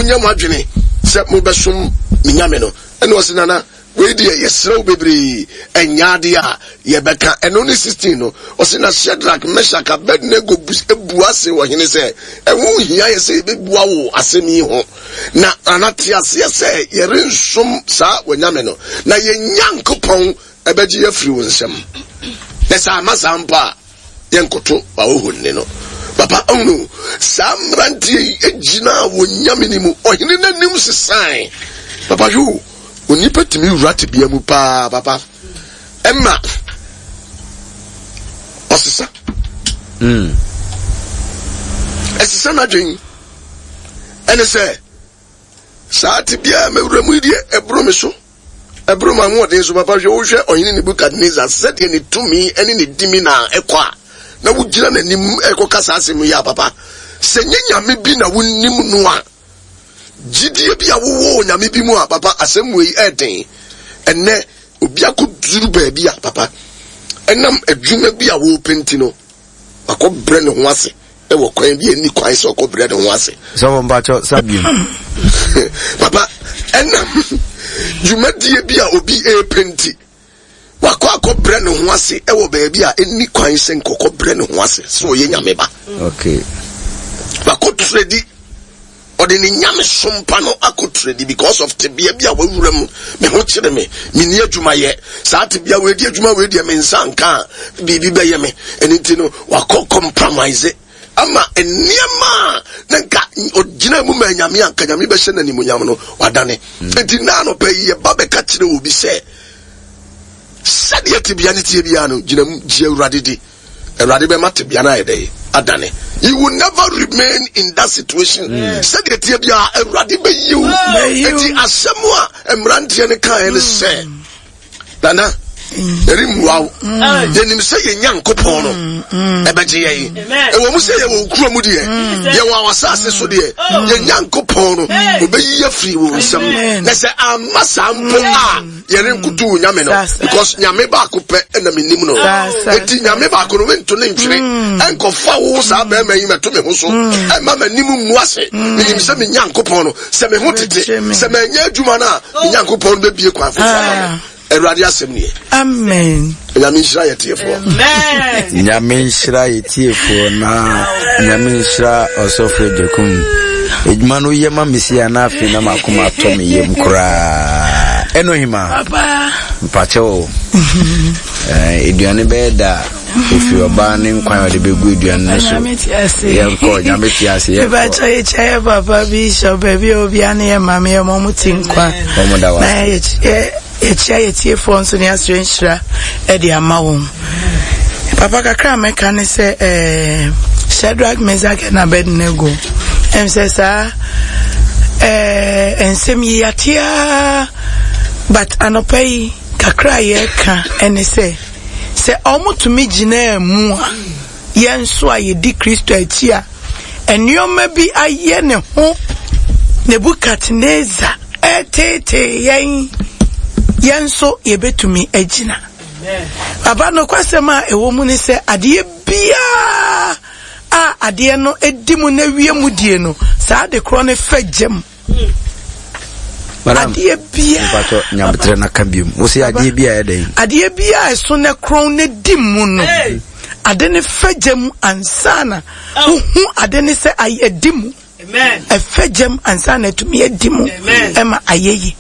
Monyɛ mo adwene sɛ mobɛsom me nyame no. Ɛna ɔse, Nana, wei deɛ yɛsrɛ wo bebree, ɛnyɛ adeɛ a yɛbɛka. Ɛno ne 16 no, ɔse, Na Shadrach, Meshach, Abednego bua se ɔhene sɛ, Ɛho nhia yɛ sɛ yɛbɛbua wo asɛm yi ho. Na Nana, te aseɛ sɛ yɛrensom saa w'anyame no, na yɛn Nyankopɔn bɛgye yɛn afiri wo nsam. Na sɛ amma saa mpo a, yɛnkoto w'ahohonni no. Papa, ahunu saa mmeranteɛ yi gyinaa wɔn nyame no mu. Ɔhene no anim sesae. Papa, hwɛ o, onipa tumi wura tebea mu paa, papa. Ɛma ɔsesa. Ɛsesa n'adwen. Ɛne sɛ, saa tebea a mewura mu yi deɛ, ɛboro me so. Ɛboro m'ahoɔden so papa. Hwɛ, wohwɛ Ɔhene Nebukadnesar sɛdeɛ ne tumi ne ne dimi na ɛkɔ a, na wogyina n'anim ɛrekɔka saa asɛm yi a, papa, sɛ nyɛ nyame bi na wonim no a, gyidie bi a wowɔ wɔ nyame bi mu a, papa, asɛm wei ɛɛden. Ɛnnɛ, obi akɔduru baabi a, papa, ɛnam adwuma bi a wɔrepɛ nti no, wakɔbrɛ ne ho ase wɔ kwan bi a ɛnni kwan sɛ ɔkɔbrɛ ne ho ase. Sɔfo mpakyɛ sa biom. Papa, ɛnam dwumadie bi a obi ɛrepɛ nti, wakɔ akɔbrɛ ne ho ase wɔ baabi a ɛnni kwan sɛ nkɔkɔbrɛ ne ho ase sɛ ɔyɛ nyame ba. Okay. Wakɔ tredi Ɔde ne nyamesom pa no akɔ tradi because of tebea bi a wawura mu. Me ho kyere me, menni adwuma yɛ. Saa tebea wei di adwuma wei deɛ me nsa nka a, biribi bɛyɛ me. Ɛno nti no, wakɔ compromise ama nneɛma a na nka ɔgyina mu ma nyame a nka nyame bɛhyɛ no animuonyam no, wadane. Nti na anɔpa yi yɛba bɛka kyerɛ obi sɛ, sɛdeɛ tebea no teɛ biara no, gyina mu, gye Awurade di. Awurade bɛma tebea no ayɛ dɛ adane. You will never remain in that situation. Mm. Sɛdeɛ teɛ biara Awurade bɛyi wo. Eti asɛm a mmeranteɛ no kaeɛ no sɛ mm. nana ɛremmua wo. Mm. Yɛnim sɛ yɛn Nyankopɔn no ɛbɛgye yɛn. Ɛwɔ mu sɛ yɛwɔ kuro mu deɛ, yɛwɔ awasase so deɛ, yɛn Nyankopɔn no ɔbɛyi afiri wo nsam. Na sɛ amma saa mpo a yɛrenkoto wo nyame no because nyame baako pɛ ɛna menim no enti nyame baako no mento ne ntwene mm. ɛnkɔfa wo saa bɛrima yi mɛto me ho so mm. ɛma m'anim ngu ase mm. menim sɛ me nyankopɔn no sɛ me ho tete sɛ manyɛ adwuma no a me nyankopɔn no bɛbie kwan foforɔ ama me ah. Awurade asɛm nie. Amen. Nyame nhyira yɛ tiefoɔ. Nyame nhyira yɛ tiefoɔ na Nyame nhyira ɔsɔfo Agyakum. Adwuma no yɛ ma me si a na afei na makoma atɔ me yam koraa. Ɛno hima. Mpakyɛ o. Aduane bɛyɛ da ɛfiri ɔbaa ne nkwan a ɔde bɛgu aduane no so. Yɛnkɔ Nyame te ase yɛnkɔ. Mepakyɛ yɛkyɛ yɛ papa bishop baabi a obia ne yɛ maame yɛ mɔmo ti nkwa. Wɔn da wa. Na yɛkyɛ Yɛkyia yɛ tiefoɔ nso ne asrɛ nhyira de ama wɔn. Papa kakra a mɛka ne sɛ eh, Shadrach, Meshach and Abednego. Ɛm sɛ saa eh, nsɛm yi yɛatea but anɔpa yi kakra a yɛreka ɛne sɛ sɛ wɔtumi gyinaa mu a Yɛn nso a yedi Kristo akyi a nneɛma bi ayɛ ne ho Nebukadnesar reteetee yɛn, yɛn nso yebetumi agyina. Papa, nokwasɛm a ɛwɔ mu ne sɛ adeɛ biara a adeɛ no di mu na wie mu die no, saa ade korɔ no fɛ gyam. Adeɛ biara. Mpatsɔ nyabotrɛ na ka biom. Wosi adeɛ bi a ɛyɛ dɛn? Adeɛ biara a ɛso na korɔn na di mu no. Ade ne fɛ gyam ansa na wohu ade ne sɛ ayɛ di mu. Ɛfɛ gyam ansa na atumi adi mu ɛma ayɛ yi.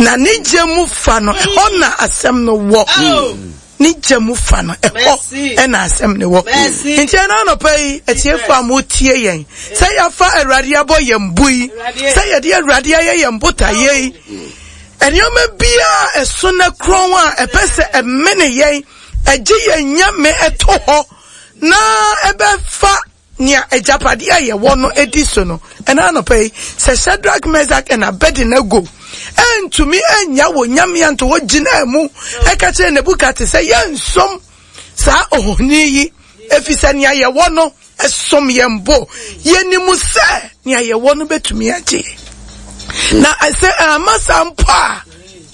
Na ne gya mu fa no ɛhɔ na asɛm no wɔ. Oh. Ne gya mu fa no, ɛhɔ na asɛm no wɔ. Nti ɛna anɔpa yi, atiefo a motie yɛn, sɛ yɛafa Awurade abɔ yɛn bo yi, sɛ yɛde Awurade ayɛ yɛn botaeɛ yi, nneɛma biara ɛso na korɔn a ɛpɛ sɛ ɛmene yɛn, ɛgye yɛn nyame ɛto hɔ, na ɛbɛfa Nea agyapade a yɛwɔ no di so no, ɛna anɔpa yi, sɛ Shadrach, Meshach and Abednego antumi annya wɔn nyame anto hɔ gyinaa mu ɛka kyerɛ Nebukadnesar sɛ yɛnsom saa ohoni yi efisɛ nea yɛwɔ no ɛsom yɛn bo. Yɛnim sɛ nea yɛwɔ no betumi agye. Na sɛ amma saa mpo a,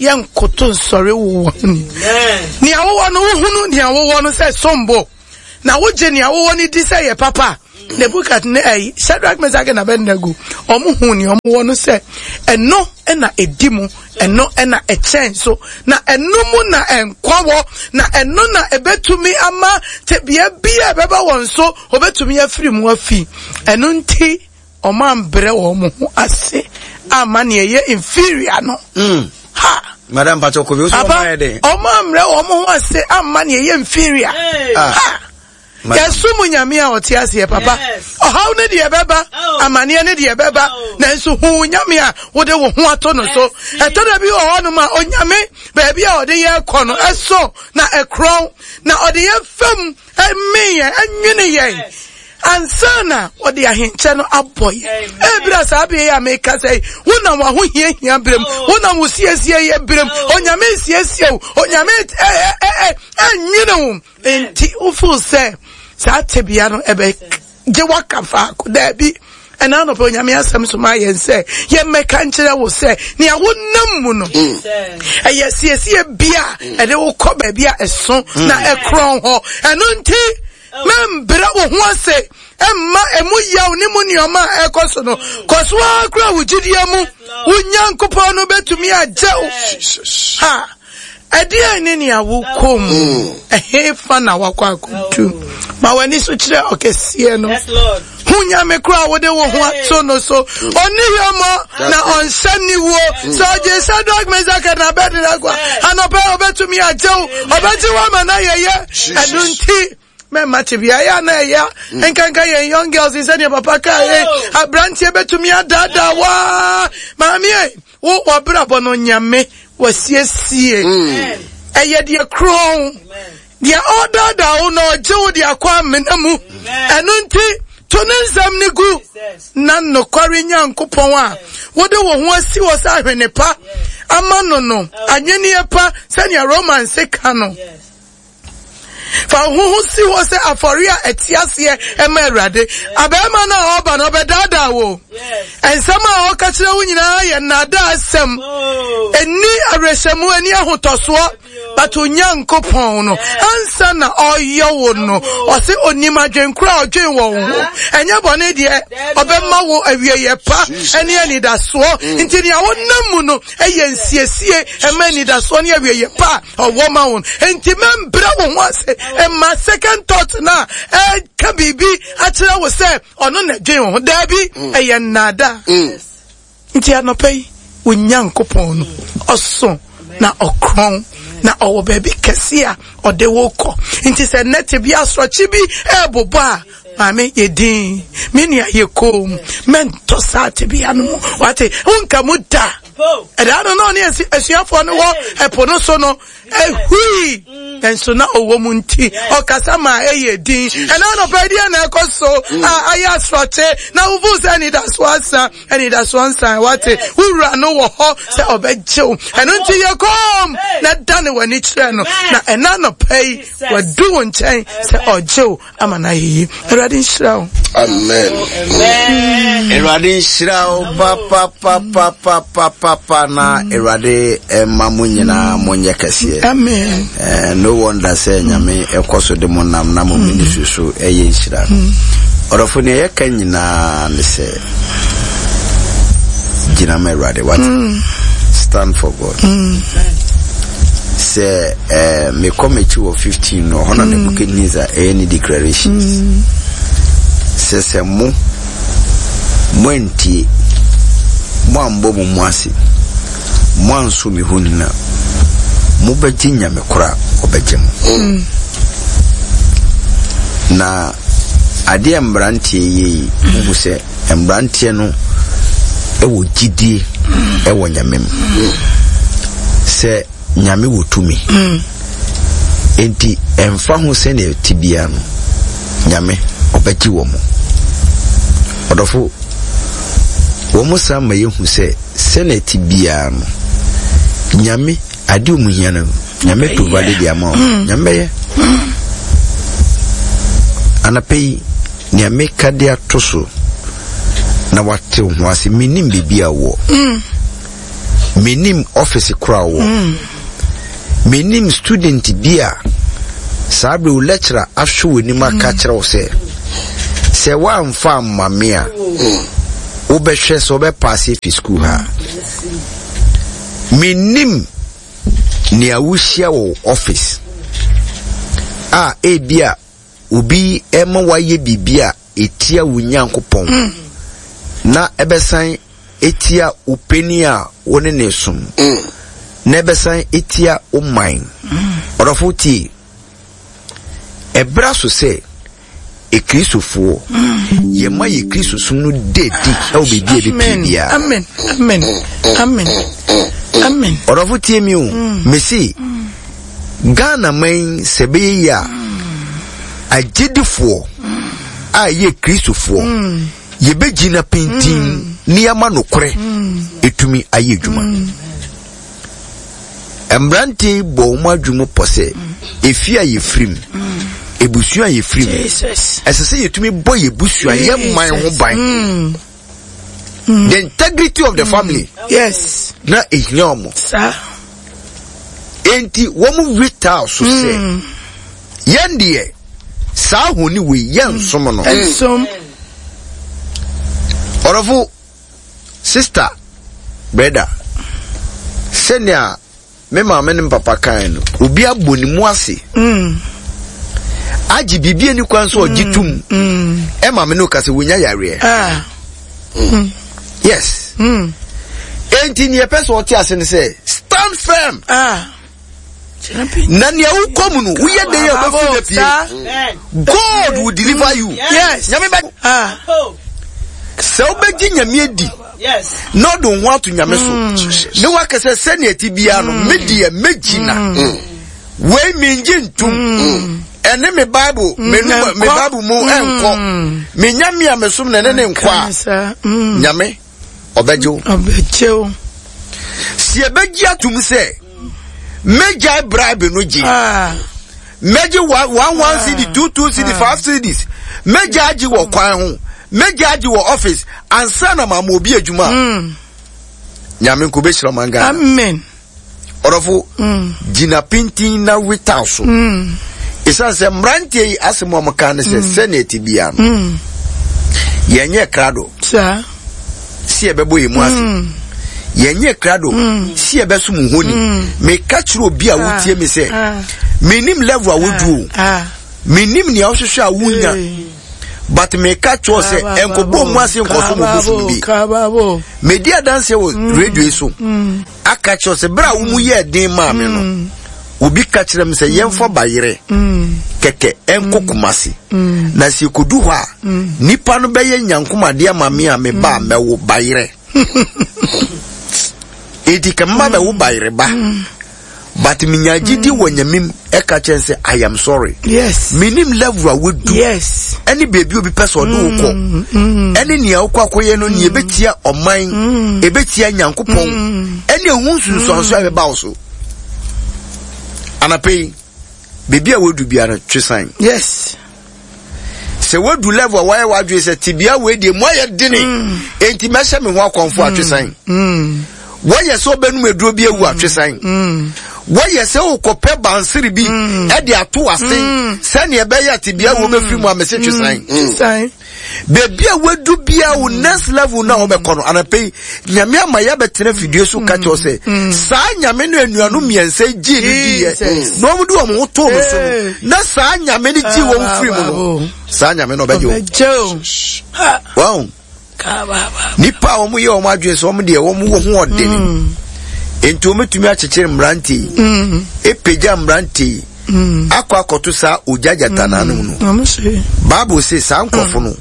yɛnkoto nsɔre wo wɔ Nea wowɔ no, wohunu nea wowɔ no sɛ som bo. Na wogye nea wowɔ no di sɛ ɛyɛ papa a, Nebukadne ɛyi Shadrach, Meshach na Abednego wɔn hu nea wɔn wɔ no sɛ ɛno na edi mu, ɛno na ɛkyɛn so, na ɛno mu na nkwa wɔ, na ɛno na ebetumi ama tebea bi a ɛbɛba wɔn so wɔbetumi afiri mu afi. Ɛno nti wɔn ambrɛ wɔn ho ase ama nea ɛyɛ inferior no. Ha. Madam Pacho Kobi, o sọ wɔn ayɛ den. Wɔn ambrɛ wɔn ho ase ama nea ɛyɛ inferior. Ha. Yɛsom Nyame a ɔte aseɛ papa. Ɔhaw no deɛ ɛbɛba, oh. amaneɛ no deɛ ɛbɛba, oh. nanso hu Nyame a wode wo ho ato no so. Ɛtɔ da bi wɔ hɔnom a Onyame baabi a ɔde yɛ kɔ no ɛso na ɛkorɔn na ɔde yɛ fam ɛme yɛn ɛnwene yɛn ansa na ɔde ahenkyɛ no abɔ yɛn. Ebira saa bere yi a meka sɛ yi, wonam w'ahohiahia berɛ mu, oh. wonam wo siesie yɛ berɛ mu, Onyame nsiesie wo, Onyame ɛnwene wo. Enti wofeel sɛ saa tebea no ɛbɛgye waka faako? Daabi. Ɛna anɔpɛ Onyame asɛm so ma yɛn sɛ yɛmmɛka nkyerɛ wo sɛ nea wonam mu no mm. ɛyɛ siesie bi a mm. ɛde wo kɔ baabi a ɛso mm. na ɛkorɔn hɔ. Ɛno nti mɛmbrɛ wo ho ase ɛmma ɛmu yaw ne mu nneɛma a ɛkɔ so no. Kɔ so ara kura wo gyidie mu. Wo Nyankopɔn no bɛtumi agye wo. Ha! Ɛdeɛn ne nea wokɔ mu? Mm. Ɛhefa na wakɔ akɔdu? Ma w'ani so kyerɛ ɔkɛseɛ no. Hu Nyame koro a wode wo ho ato no so. Ɔnni hwammɔ na ɔnhyɛ niwuo. Mm. Sɛ ɔgye Shadrach, Meshach na Abednego a, anɔpa yi ɔbɛtumi agye wo. Ɔbɛgye wo ama no ayɛyɛ. Ɛno nti, mɛma tebea yɛ a na ɛya mm. nkanka yɛn young girls sɛdeɛ papa kaa yɛ oh. aberanteɛ bɛtumi adaadaa waa maame ɛ wo wabrabɔ no Nyame wasiesie mm. ɛyɛ deɛ korɔn deɛ ɔdaadaa wo na ɔgye wo de akɔ amena mu ɛno nti to ne nsɛm no gu na nokware Nyankopɔn a wode wo ho asi hɔ sɛ ahwene pa ama no no anwenneɛ pa sɛnea Romans ka no. Fa wo ho si hɔ sɛ afɔre a ɛte aseɛ ɛma Awurade. Abɛɛma no a ɔba no ɔbɛdaadaa wo. Nsɛm a ɔka kyerɛ wo nyinaa yɛ nnaadaa asɛm. Ɛni awerɛhyɛmu, ɛni ahotɔsoɔ. But Onyankopɔn no, ansa na ɔyɛ wo no, ɔse onim adwenkoro a ɔdwen wɔ wo ho. Ɛnyɛ bɔne deɛ, ɔbɛma wo awieyɛ pa ɛne anidasoɔ. Nti nea wonam mu no ɛyɛ nsiesie ɛma anidasoɔ ne awieyɛ pa a ɔwɔ ma wɔn. Enti mɛmbrɛ wo ho ase mma second thought no a ɛka biribi akyerɛ wo sɛ ɔno na ɛdwen wo ho. Daabi, mm. ɛyɛ nnaadaa. Mm. Nti anɔpa yi, wo Nyankopɔn no, ɔso na ɔkorɔn na ɔwɔ baabi kɛse a ɔde wo kɔ. Nti sɛ nnɛ tebea asorɔkye bi ɛrebobɔ a, maame yɛ din, me nua yɛ koom, mɛntɔ saa tebea no mu. Wate, wonka mu da. Ɛdaa no na ɔne asuafoɔ no wɔ ɛpo no so no, ɛhui nanso na ɔwɔ mu nti ɔkasa ma ɛyɛ din. Ɛna anɔpa deɛ na ɛkɔ so a ayɛ asorɔkye na wofu sɛ anidasoɔ asa, anidasoɔ nsan wate wowura no wɔ hɔ sɛ ɔbɛgye wo. Ɛno nti yɛ kɔm na dane w'ani kyerɛ no na ɛna anɔpa yi wadu wo nkyɛn sɛ ɔgye wo ama no ayɛ yie. Awurade nhyira wo. Amen. Awurade nhyira wo papapapapapapa na Awurade ɛma mo nyinaa mo nyɛ kɛseɛ. Amen. Eh, no wonder sɛ Nyame ɛkɔ so de mo nam na mo mm. ministry so ɛyɛ nhyira. Mm. Ɔdɔfo nea yɛka nyinaa ne sɛ gyina ma Awurade wate. Mm. Stand for God. Mm. Sɛ eh, mekɔ m'akyi wɔ 15 no, ɔhɔ na mm. Nebuchadnezzar ɛyɛ ne declarations. Mm. Sɛ sɛ mo, moantie, moambɔ mo mu ase, moanso me ho nina, mobɛgye nyame koro a ɔbɛgye mo. Mm. Na adeɛ mmeranteɛ yɛ yi, wohu sɛ Mmeranteɛ no wɔ gyidie wɔ Nyame mu sɛ Nyame wɔ tumi. Enti ɛmfa ho sɛnea ɛte biara no, Nyame ɔbɛgye wɔn. Ɔdɔfo, wɔn san ma yɛhu sɛ sɛnea ɛte biara no, Nyame adeɛ wɔn hia no, Nyame provide de ama wɔn. Nyame bɛyɛ. Anapa yi, Nea meka de ato so na wate wo ho ase, mennim baabi a wɔ. Mm. Mennim office koro a wɔ. Mm. Mennim student bi a saa bere wo lecturer ahwɛ w'anim aka mm. kyerɛ wo sɛ. Sɛ woamfa amma me a, wobɛhwɛ sɛ wobɛpaase afi sukuu ha. Mennim nea wohyia wɔ office a ebi a obi ma woayɛ biribi a ɛtia wo Nyankopɔn mm. na ɛbɛsan ɛtia wo panin a wo ne ne som mm. na ɛbɛsan ɛtia wo man. Mm. Ɔdɔfo tie. Ɛbra so sɛ Akristofoɔ yɛma yɛ Kristosom no da adi wɔ baabi a ɛbɛpie biara. Amen. Amen. Amen. Amen. Ɔdɔfo tie mi o. Mm. Mese Ghana man sɛ ɛbɛyɛ yie a agyedifoɔ a ɛyɛ Kristofoɔ mm. yɛbɛgyina pintin mm. ne yɛama nokorɛ ɛtumi ayɛ adwuma. Mmerante yi bɔ wɔn adwene mu pɔ sɛ efie a yɛfiri mu, ebusua a yɛfiri mu, ɛsɛ sɛ yɛtumi bɔ yɛ busua, yɛ man ho ban. Mm. Mm. The integrity of the mm. family. Yes. Na ehia wɔn. Saa. Enti wɔn wetaa so sɛ yɛn deɛ saa ahoni wei yɛn nsom no. Nsom. Ɔdɔfo. Sister, brɛda, sɛnea me maame ne me papa kae no, obi abɔ ne mu ase mm. agye biribi ani kwan so ɔgye mm. tom mm. ɛma me no ka sɛ wonya yareɛ. Ah. Mm. Yes. Mm. Enti nea ɛpɛ sɛ ɔte ase ne sɛ stand firm. Ah. Na nea wokɔ mu no woyɛ dɛn a wobɛfiri no pie. God will deliver you. Yes. Nyame bɛ. Ah. Sɛ wobɛgye Nyame adi na ɔde wo ho ato Nyame so mm. na waka sɛ sɛnea ɛte biara no me deɛ mɛgyina mm. wei mengye ntom ɛne me Bible me me Bible mu ɛnkɔ me Nyame a mesom na ɛne ne nkɔ a Nyame ɔbɛgye wo. Ɔbɛgye wo. Si ɛbɛgye atum sɛ mɛgyae bribe no gye. Ah. Mɛgye one one one ah. cd two two cd ah. five cds mɛgya agye wɔ kwan ho mɛgya agye wɔ office ansa na maama obi adwuma. Mm. Nyame nko bɛhyira ɔman Ghana. Amen. Ɔdɔfo, gyina pintinn na wetaw so. Esiane sɛ mmeranteɛ yi asɛm a wɔka ne sɛ mm. sɛnea ɛte biara no, mm. yɛnyɛ krado sɛ yɛbɛbɔ yɛn mu ase. Mm. Yɛnyɛ krado sɛ yɛbɛsom honi. Meka kyerɛ obi a wotie me sɛ, ah. menim level a wodu o. Ah. Menim nea wohwehwɛ a wonya. But meka kyerɛ sɛ ɛnkɔbɔ mu ase nkɔsom obosom bi. Medi adanseɛ wɔ radio yi so. Aka kyerɛ sɛ bere a wo mu yɛɛ den maa me no, mm. obi ka kyerɛ me sɛ yɛmfa bayerɛ kɛkɛ ɛnkɔ Kumasi. Na sɛ yɛkɔdu hɔ a, nipa no bɛyɛ nyankomadeɛ ama me a meba a mɛwo bayerɛ. Enti kɛ mma bɛwo bayerɛ ba. But menya gyidi wɔ Nyame mu ɛka kyerɛ sɛ I am sorry. Yes. Menim level a wodu. Yes. Ɛne baabi obi pɛ sɛ ɔde wo kɔ. Mm, mm. Ɛne nea wokɔ akɔyɛ no nea ɛbɛtia ɔman, mm. ɛbɛtia Nyankopɔn, ɛne ɛho nsunsuanso a ɛbɛba wo so. Anapɛ yi, baabi a wodu biara twe san. Yes. Sɛ woadu level a woayɛ w'adwene sɛ tebea wei deɛ mu ayɛ dene mm. enti mɛhyɛ me ho akɔmfo mm. atwesan mm. wɔyɛ sɛ ɔbɛnum aduro bi awu atwesan wɔyɛ sɛ wokɔpɛ bansere bi ɛde ato ase sɛnea ɛbɛyɛ tebea wo bɛfiri mu a mɛsɛ twesan baabi a wadu bia wo next level na wobɛkɔ no anapɛ yi Nyame ama yɛabɛtena fidie so ka kyerɛ sɛ mm. saa Nyame no anuanom mmiɛnsa yi gyee no diiɛ na wɔn de wɔn ho too no so no na saa Nyame no gyee wɔn firi mu no saa Nyame no ɔbɛgye wɔn. Wɔn nipa a wɔn yɛ wɔn adwene sɛ wɔn deɛ wɔn wɔ ho ɔdene mm. nti wɔn tumi akyekyere mmerante yi mm. epagya mmerante yi akɔ akɔto saa ogya gyata n'anom no Bible sɛ saa nkorɔfo no.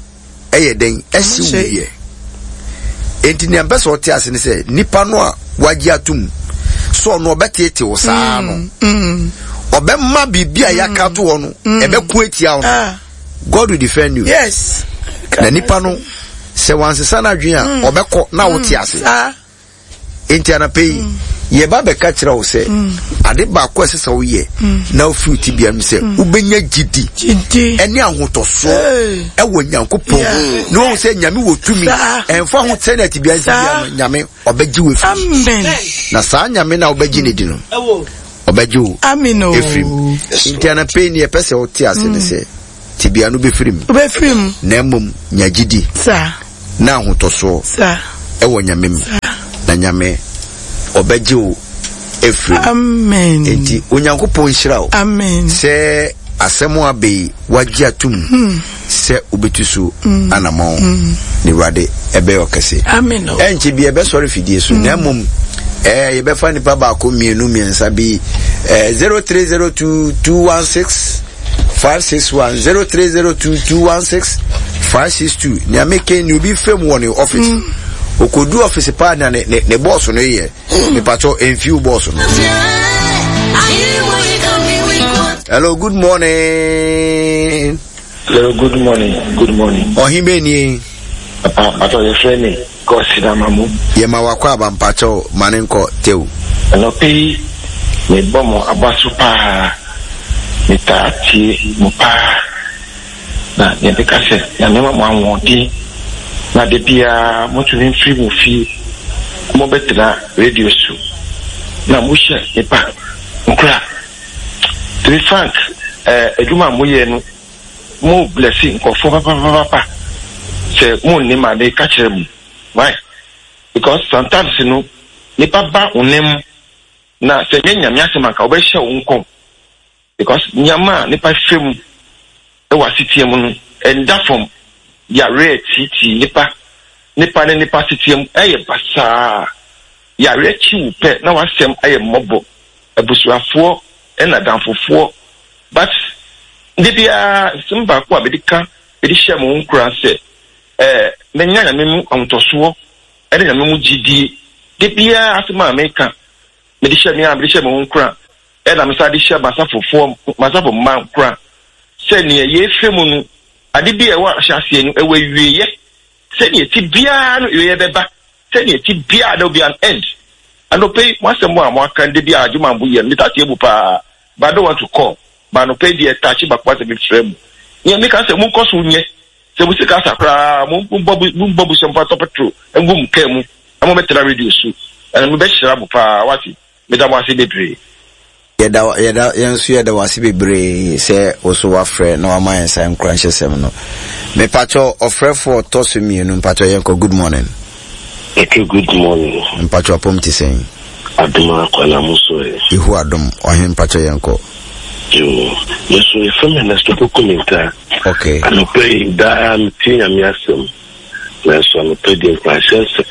ɛyɛ dɛn ɛsi wuyɛ enti nea mpɛ sɛ ɔte ase ne sɛ nipa no a wagye atum sɛ ɔno ɔbɛteete wo saa no mm, mm. ɔbɛma biribi a yɛaka mm. to hɔ no ɛbɛko atia wo no ah. God will defend you yes na nipa no sɛ wansesa no adwene a ɔbɛkɔ na wote ase Enti anapa yi, yɛba bɛka kyerɛ wo sɛ ade baako a ɛsɛ sɛ woyɛ na wofiri wo tebea mu sɛ wobɛnya gyidi ɛne ahotɔsoɔ ɛwɔ Nyankopɔn na wahu sɛ Nyame wɔ tumi ɛmfa ho sɛnea tebea nsi bia no Nyame ɔbɛgye wo afiri na saa Nyame no a wobɛgye ne di no ɔbɛgye wo afiri mu. Enti anapa yi ne yɛpɛ sɛ wote ase ne sɛ. Tebea no bɛfiri mu. Wobɛfiri mu. Na mmom nya gyidi. Saa. Na ahotɔsoɔ. Saa. Ɛwɔ Nyame mu. Saa. Na Nyame ɔbɛgye wo afiri mu. Amen. Enti Onyankopɔn nhyira wo. Amen. Sɛ asɛm a aba yi wagye atom sɛ wobɛtu so anamɔn na Awurade ɛbɛyɛ ɔkɛse. Amen. Ɛnkyɛ bi ɛbɛsɔre fidie so na mmom ɛɛ yɛbɛfa nipa baako mmienu mmiɛnsa bi ɛɛ 0302 216 561 0302 216 562 nea meka ni obi fam wɔ ne office okodu office paa na ne ne ne bɔɔso no yɛ mepatwɔ mfiw bɔɔso no. Hello, good morning. Hello, good morning. Good morning. Ɔhen bɛ nie. Papa, papa, yɛfrɛ me Gɔsidamamu. Yɛma wakɔ aba mpakyɛw ma ne nkɔ tew. Anɔpa yi, mebɔ mo aba so paa. Metaa tie mo paa. Na nea meka sɛ, Nyame ma mo ahoɔden na da biara motumi mfiri mo fie mobɛtena radio so na mohyɛ nnipa nkura. To be frank, eh, adwuma a moyɛ no, mo blessi nkurɔfoɔ papapapapa. Sɛ monnim a, meka kyerɛ mo. Why? Because sometimes no, nipa ba wo nan mu na sɛ ɛnyɛ Nyame asɛm anka wɔbɛhyɛ wo nkɔm. Because nneɛma a nipa fa mu wɔ asetea mu no, ɛnda fam. Yareɛ tiitii nipa, nipa ne nipa asetea mu ɛyɛ basaa. Yareɛ kyi wo pɛ na w'asɛm ayɛ mmɔbɔ. Abusuafoɔ ɛna adamfofoɔ. But da biara nsɛm baako a mede ka mede hyɛ mo nkuran sɛ ɛɛ menya Nyame mu ahotɔsoɔ ɛne Nyame mu gyidie. Da biara asɛm a meka mede hyɛ me a mede hyɛ mo nkuran ɛna mesan de hyɛ m'asafofoɔ, m'asafo mma nkuran sɛ nea yɛrefa mu no, ade bi a ɛwɔ ahyɛaseɛ no, ɛwɔ awieeɛ. Sɛnea ɛte biara no, awieeɛ bɛba. Sɛnea ɛte biara, there will be an end. Anɔpa yi, mo asɛm a moaka no, da bi a adwuma a moyɛ no, metaa tie mu paa, but I don't want to call. But anɔpa yi deɛ, ɛtaakye baako asɛ mefrɛ mu. Nea meka sɛ, monkɔ so nyɛ. Sɛ mo sika asa koraa, mombɔ mombɔ busua mfa ntɔ petrol ngu mo kaa mu na mommɛtena radio so. Ɛno mebɛhyira mo paa, wate. Meda mo ase bebree. Yɛda yɛda yɛn nso yɛda wo ase bebree sɛ wo so wafrɛ na wama yɛn saa nkuranhyɛsɛm no. Mepakyɛ ɔfrɛfoɔ ɔtɔ so mmienu mpakyɛ yɛnkɔ good morning. Okay, good morning. Mpakyɛ ɔpom te sɛn? Adom akwa na mo so ɛ. Yehu adom ɔhen mpakyɛ yɛnkɔ. Yoo, me nso yɛfrɛ me Ernesto Poku Mintah. Okay. Anɔpa yi daa metie Nyame asɛm. Nanso anɔpa deɛ nkuranhyɛ nsɛm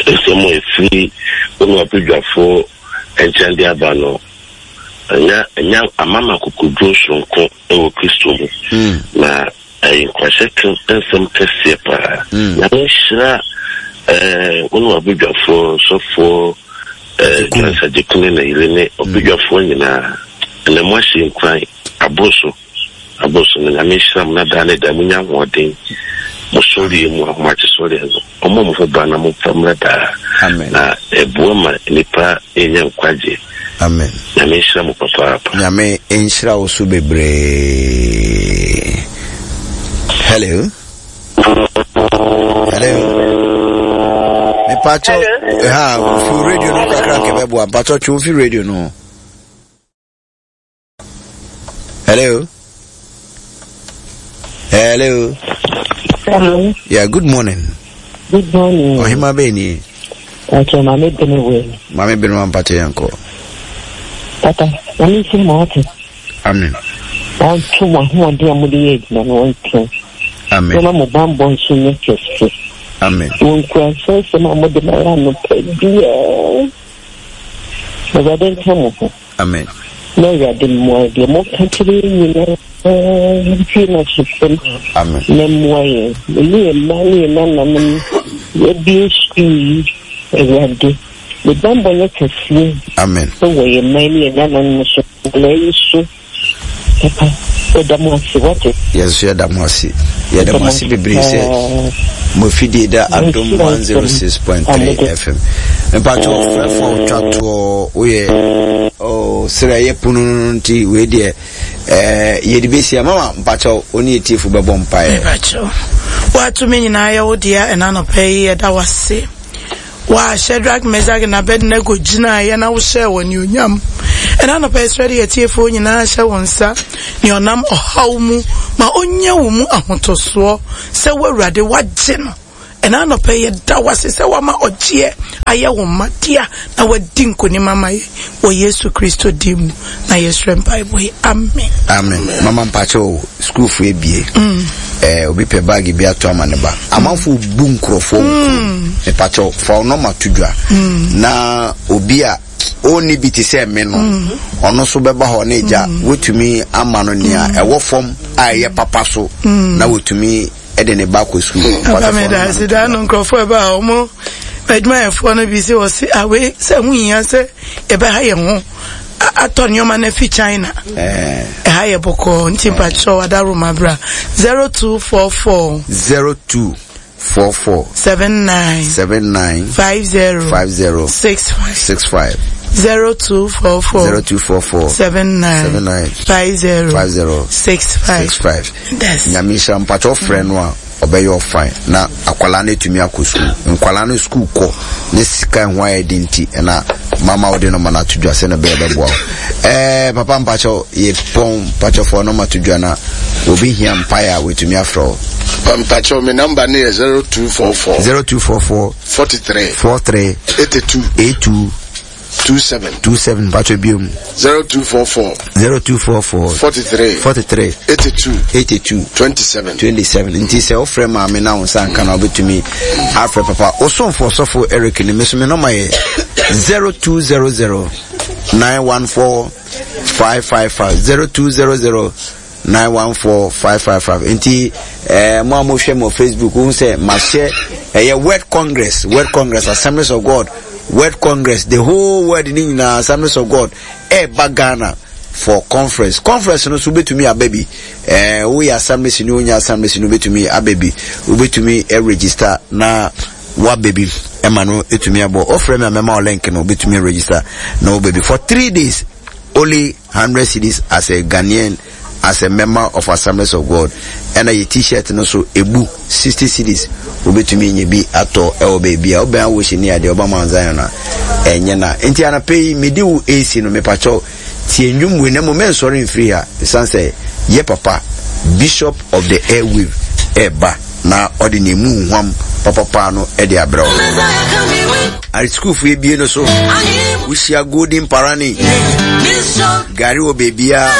nsɛm a ɛfiri wo ne w'abadwafoɔ nkyɛn de aba no, anya anya ama me akokoduro soronko wɔ Kristo mu. Mm. Na ɛyɛ nkuranhyɛ nsɛm kɛseɛ paa. Mm. Nyame nhyira eh, wo ne w'abadwafoɔ, sɔfoɔ eh, Johnson Agyekum ne ne yere ne ɔbadwafoɔ nyinaa. Ɛnɛ mo ahyɛ nkuran aboro so. Aboroso no Nyame nhyira mo na daa ne daa munya ahoɔden mo sɔreɛ mu ahomakye sɔreɛ no ɔmɔ mo ho ban na momfa mmra daa Amen. na ɛboa ma nnipa nya nkwagye. Amen. Nyame nhyira mo papaapa. Nyame nhyira wo so bebree. Hello. Hello. Mepacho, ha, fi radio no kakra nkɛbɛboa. Mpacho twe fi radio no. Hello. Hello. Hello. Yeah, good morning. Good morning. Ohima Beni. Okay, Mami Benewe. Mami Benewe Mpacho Yanko. Papa, Mami si mo ate. Amen. Wɔnto mo ahoɔden a mode yɛ adwuma no wɔnto. Amen. Wɔma mo bammɔ nso nyɛ kɛse. Amen. Wɔn nkuranhyɛnsɛm a mode ma yɛ anɔpa biara. Awurade nka mo ho. Amen. Na Awurade mmoa deɛ moka kyerɛ yɛn nyinaa yɛntie no asopam. Amen. Na mmoa yɛn. Ɛne yɛn mma ne yɛn nananom yɛabie sukuu yi Awurade. Ne bammɔ nyɛ kɛseɛ. Amen. Wɔ yɛn mma ne yɛn nananom so. Na ɛyi so. Papa, yɛda mo ase, wate. Yɛn nso yɛda mo ase. Yɛda mo ase bebree sɛ mo afidie da Adom 106.3 FM. Mpakyɛ ɔfrɛfo a ɔtwa toɔ woyɛ oh, serɛ yɛ pono no nti wei deɛ eh, yɛde bɛsia mama mpakyɛ wo ne yɛtiefo bɛbɔ mpaeɛ. Mpakyɛ woatumi nyinaa yɛ wo dea ɛna anɔpa yi yɛda wase. Wo a Shadrach, Meshach, na Abednego gyinaeɛ na wohyɛɛ wɔn anuonyam. Ɛna anɔpa yɛsrɛ de yɛtiefoɔ nyinaa hyɛ wo nsa, nea ɔnam ɔhaw mu ma ɔnya wo mu ahotɔsoɔ sɛ wo Awurade wagye no. Ɛna anɔpa yi yɛda wo ase sɛ wama ɔgyeɛ ayɛ wo mma dea na wadi nkonim ama yɛ wɔ Yesu Kristo din mu na yɛsrɛ mpaebɔ yi. Amen. Amen. Mama mpakyɛ o, sukuufo ebie. Mm. Eh, obi pɛ baagi bi ato ama ne ba. Amanfo bu nkurɔfoɔ wɔ kurom. Mm. Mepakyɛ fa wo nɔma to dwa. Mm. Na obi a ɔnni bi te sɛ me no, mm. ɔno nso bɛba hɔ ne gya. Mm. Wotumi ama no nea mm. ɛwɔ fam a ɛyɛ papa so mm. na wotumi de ne ba kɔ sukuu. Papa mi da ase daa no nkurɔfoɔ ɛba a wɔn adwumayɛfoɔ no bi sɛ wɔsi awe sɛ ho hia sɛ yɛbɛha yɛn ho atɔ nneɛma no afi China. Ɛha yɛ bɔkɔɔ nti mpakyɛw adaroma bra 0244. 02 44. 79. 79. 50. 50. 65. 65. 0244. 0244. 79. 79. 50. 50. 65. 65. Nyame nhyira mpakyɛ ɔfrɛ no a ɔbɛyɛ ɔfan na akwadaa no atumi akɔ sukuu nkwadaa no sukuu kɔ ne sika ho ayɛ den nti ɛna mama wode no ma no ato dwa sɛ na ɛbɛyɛ bɛboa wo ɛɛ papa mpakyɛ yɛ pɔn mpakyɛ fɔ no ma to dwa na obi hia mpaeɛ a wɔatumi afrɛ wo. Mpakyɛ me namba no yɛ 0244 0244 43 43 82 82 27. 27 mpatsɔ biom. 0244. 0244. 43. 43. 82. 82. 27. 27 nti sɛ wofrɛ maame na wo nsa nka na wobɛtumi afrɛ papa wosomfo ɔsɔfo Eric ne me so me nɔma yɛ 0200 914 555 0200 914 555 nti eh, mo a mohwɛ mo facebook wohu sɛ mahyɛ ɛyɛ world congress world congress assemblies of god world congress the whole world ne nyinaa assemblies of god ɛreba ghana for conference conference no so wobɛtumi aba bi eh, woyɛ assemblies ni wonyɛ assemblies ni wobɛtumi aba bi wobɛtumi eh, register na woaba bi ɛma no ɛtumi abɔ wofrɛ me a mɛma wo link no wobɛtumi register na woba bi for three days only 100 cedis as a Ghanaian as a member of Assemblies of God ɛna yɛ t-shirt no so ebu 60 cedis wobɛtumi nya bi atɔ ɛwɔ baabi a wobɛn awohyɛ ni adeɛ ɔba Mount Zion a ɛnyɛ na nti anapɛ yi mede wo AC no mepakyɛw tie nnwom wei na mmom mɛnsɔre mfiri ha ɛsiane sɛ yɛ papa Bishop of the Airwave ɛreba na ɔde ne emu huam papapaa no de abrɛ wo. Sukuufo ebie no so wohyia golden parani gari wɔ beebiara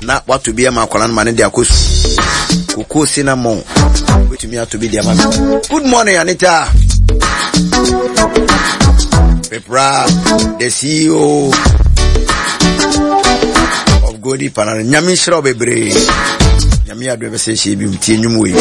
na wato bi ama akwadaa no ma ne de akɔ su koko cinnamon wobɛtumi ato bi de ama me. Good morning Anita. Pepra the CEO of Golden Parani. Nyame nhyira wo bebree. Nyame adom bɛsɛ hyɛ bi tie nnwom wei.